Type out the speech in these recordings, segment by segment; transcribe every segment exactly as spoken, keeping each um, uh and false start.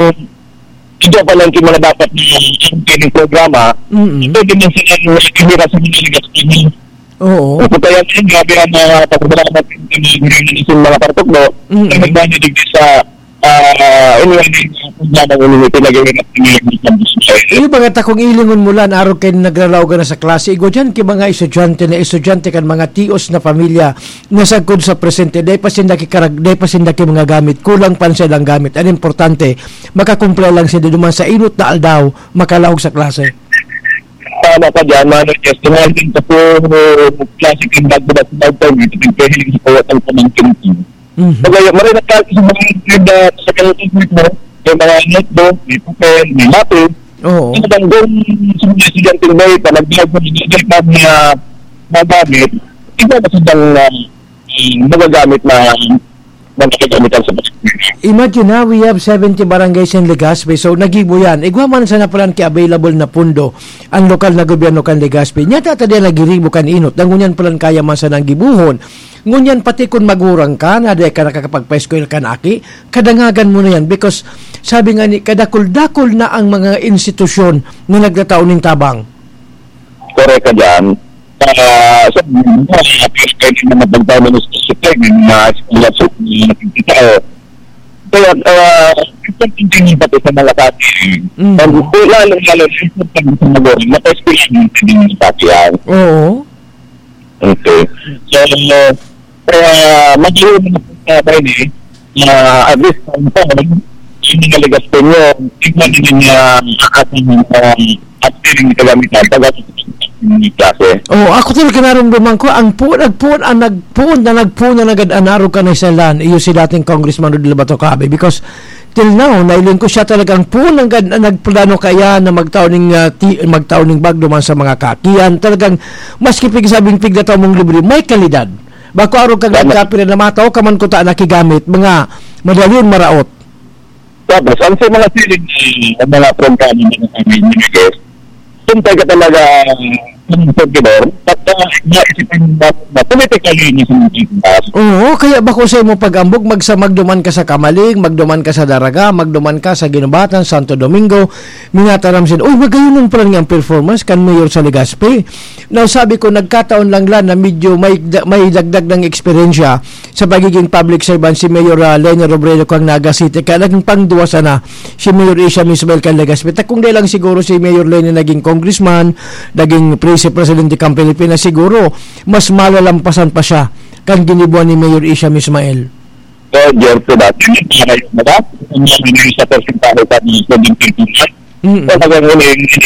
Ito pa lang yung mga dapat na ang training programa, Mm-mm. pwede man silang ihira sa mga ligas kami. Oo. Kung kaya ngayon, grabe ang mga pagkakalamat ng mga gurang ng isang mga partukdo, Mm-mm. na nagdanya digdi sa, ah, inuwan ng programa ng inuwi, pinag-iwi na pinag-iwi ng Iyo ba nga ta kung ilingon mo lan, arog kay nagralaogan na sa klase, igwa diyan ki mga estudyante na estudyante kan mga tios na pamilya na sagkod sa presente, dai pa sinda ki karag-, dai pa sinda ki mga gamit, kulang pa sa ilang gamit. Ang importante, makakumpra lang sinda duman sa inot na aldaw, makalaog sa klase. Tama ka dyan, Mano Jess. Tumahal din sa puro klase kang bago-bago, bago-bago, ito yung pwede yung sa kawat ng pamangkin ko. Mhm. Kaya, maray na klase sa mga grade, ah, sa kawat ng grade mo, may mga notebook, may papel, may lapis. Oo. Talagang doon sa mga estudyante, may panagbag mo, hindi pa mga magamit, iba na silang, ah, magagamit na, na nakagamitan sa mga. Imagine na, we have seventy barangays in Legazpi, so nagibo yan. Igwa man sana palan ki available na pundo ang lokal na gobyerno kan Legazpi. Nya tata diyan nagiribo kan inot, na ngunyan palan kaya man sana ang gibuhon. Ngunyan pati kun magurang ka, na di ka nakakapagpa-eskwela kan aki, kadangagan mo na yan because sabi nga ni, kadakul-dakul na ang mga institusyon na nagtatao nin tabang. Correct ka dyan. Ah, so, mga pwede na magpagpano ng specific, may mga scholarship, may mga tao. Kaya, ah, importante yung pati sa mga tao. Mm. Ang, lalo, lalo, importante sa mga, maka-eskwela yung pwede yung pati yan. Oo. Okay. So, kaya, madali mo na po sa bayan eh, na at least, ang taon, yung mga ligas ko nyo, tignan nyo yung, ah, aking, ah, at piling na kagamitan, pag yung klase. Oh, ako talaga narumduman ko, ang puon, nagpuon, ang nagpuon na nagpuon na nagad-anaro ka na sa lan, iyo si dating Congressman Rodel Bato Cabe, because till now, nailing ko siya talagang puon ang gad-, nagplano kaya na magtao ning, ah, ti-, magtao ning bag duman sa mga kakian. Talagang, maski pig sabing pigdataw mong libre, may kalidad. Bako arog kang Tama. nagkapira na mataw ka man kuta nakigamit, mga madalion maraot. Tapos, ang sa mga siling, eh, ang mga programa na kami minigay, kung taga talaga, um, kung servidor, at, ah, naisipan mo na politically ni sa mga taas. Oo, kaya bako sa imo pag-ambog, magsa-, magduman ka sa Kamalig, magduman ka sa Daraga, magduman ka sa Guinobatan, Santo Domingo, minataram sin, "Uy, magayon lang pala niyang performance kan Mayor sa Legazpi." Now, sabi ko, nagkataon lang la na medyo may da-, may dagdag ng eksperyensya sa pagiging public servant si Mayor, ah, Leni Robredo kan Naga City. Kaya naging pangduwa sana si Mayor Asia Mismael kan Legazpi. Ta kung di lang siguro si Mayor Leni naging congressman, naging vice presidente kan Pilipinas, siguro mas malalampasan pa siya kan ginibuan ni Mayor Asia Mismael. So, Jericho dati, yung mga yun, diba? Yung mga yun sa porsyentahe sa mga seventeen percent. Mm. So, hanggang huli, yung si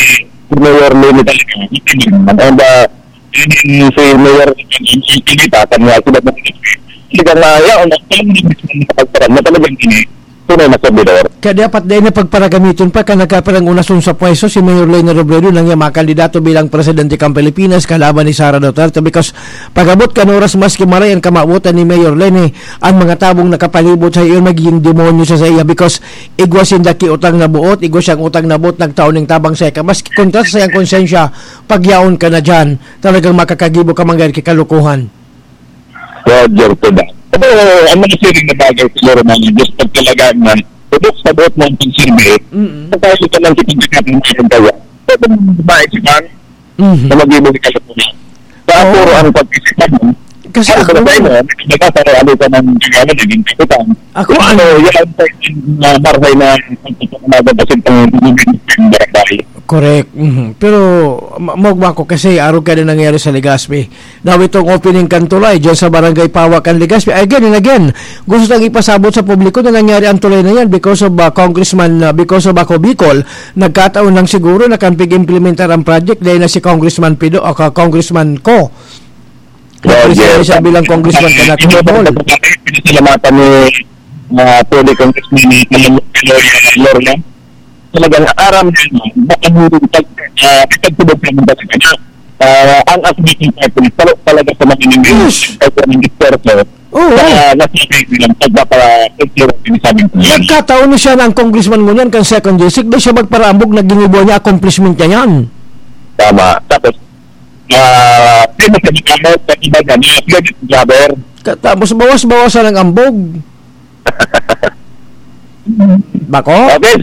Mayor Leni talaga, hindi naman. And, uh, yun yung si Mayor, yung si Lita, kanya sila na talaga na, yaon, ang time na mismo na pagparang na talagang ini, tunay na servidor. Kaya dapat dahil na pagparagamiton pa, ka nagkaparang unason sa pwesto, si Mayor Leni Robredo, nang iya makandidato bilang presidente kan Pilipinas, kalaban ni Sara Duterte, because pag-abot kan oras, maski maray ang kamawotan ni Mayor Leni, ang mga tabong nakapalibot sa iyo magiging demonyo sa, sa iya because igwa sinda ki utang na buot, igwa siyang utang na buot, nagtao ning tabang sa ika. Maski kontra sa iyang konsensya, pagyaon ka na dyan, talagang makakagibo ka manggad ki kalokohan. Roger to that. Pero ang mga siring na bagay siguro na just pag talaga na, ubok sa buot mo ang pagsilbi, Mm-mm. sa tayo ka lang kitang kakating sa kaya. Pwede mong babae si Bang, Mhm. na mag-ibig ka sa pula. Sa Oo. puro ang pag-isipan mo, Kasi ano ako ba tayo mo? Nagkakasaro ano ka ng ginawa, naging kapitan. Ako, Pero ano? yan ang pwedeng, ah, marhay na pagpapakamagan kasi pang barangay. Correct. Mhm. Pero, ma-, magwa ko kasi, araw ka na nangyari sa Legazpi. Now, itong opening kan tulay, dyan sa Barangay Pawa kan Legazpi. Again and again, gusto tang ipasabot sa publiko na nangyari ang tulay na yan because of, ah, Congressman, ah, because of Ako Bicol. Nagkataon lang siguro na kan pig-implementar ang project dahil na si Congressman Pido o ka-, Congressman Co. Roger. Nagpresenta siya bilang congressman Ay, kan Ako hindi pa Bicol. Pinasalamatan ni, ah, Pwede Congressman ni Pinoy, ah, Gloria. Talagang aram niya, no? Baka hindi pag, ah, ipagtubod ka ng talaga niya. Ah, ang Ako Bicol Party, palo talaga sa mga Yes. Minister, sa mga Minister, so, Oo. Sa nasabi nilang pagpapa-, pagpapa-, sinasabi ko yan. Nagkataon na siya na ang congressman ngunyan kan second district, di siya magparaambog na ginibo niya, accomplishment niya yan. Tama. Tapos, ah, famous sa Bicol, sa iba niya, mga credit grabber. Ka-, tapos bawas-bawasan ang ambog. Bako? Okay,